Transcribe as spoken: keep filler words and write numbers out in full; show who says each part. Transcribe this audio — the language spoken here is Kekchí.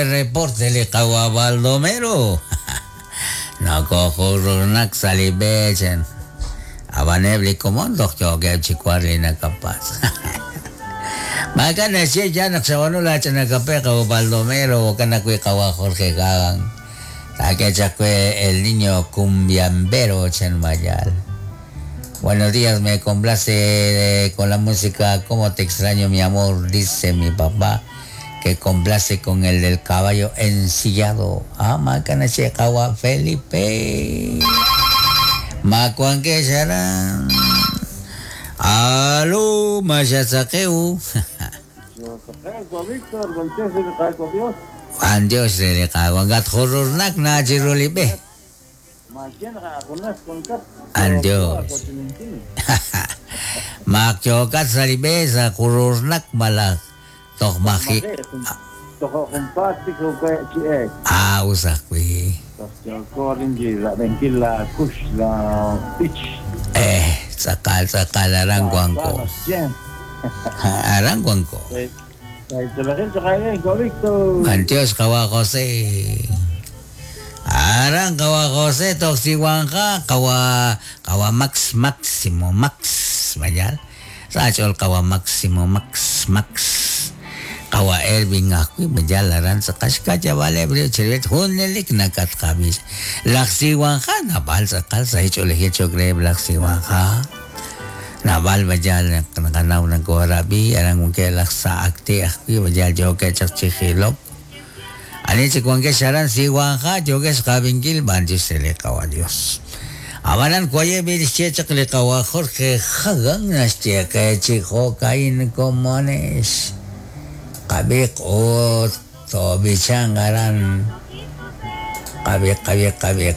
Speaker 1: Reporte li qawa Baldomero. Nakojururnak sa li b'e chan. Ab'an eb' li komon toj yookeb' chi war li nakapatz'. Maak'a' naxye ya naq xab'aanu laach'ina kape qawa Baldomero jo'kan ajwi' qawa Jorge Gagan. Taak'e chaq we el niño cumbiambero chan mayal. Buenos días, me complace con la música Cómo te extraño mi amor, dice mi papá, que complace con el del caballo ensillado. Ah, maak'a naxye qawa Felipe. Makuanke xaran. Aló, Mayazaqueu. Juan Dios de Gat Jururnak na chirulibe. Andios. Makyokat salibe sa kururnak malak toj maji. Ah, usakwi. Eh, sakal sakal arangguanco. Arangguanco. Andios kawa José. Arang kawa José toksiwangka kawa kawa Max Maximo Max mayal. Sa kawa Maximo Max Max. Kawa Ervin akwi mayal aran sa kashka vale brio chirvet hunelik nakat kabis. Laksiwangka nabal sakal sa hicho lehicho greb laksiwangka. Nabal mayal nakanaw ng korabi arang mungke laksa akti akwi mayal joke chak chihilok. Ani chikuanke sharan siwangka joke skabingil banjis sele kawa Dios. Abanan kuaye birische chakle kawa Jorge Hagan naschie ke chijo kain comones. Kabik o to bichangaran. Kabik kabik kabik.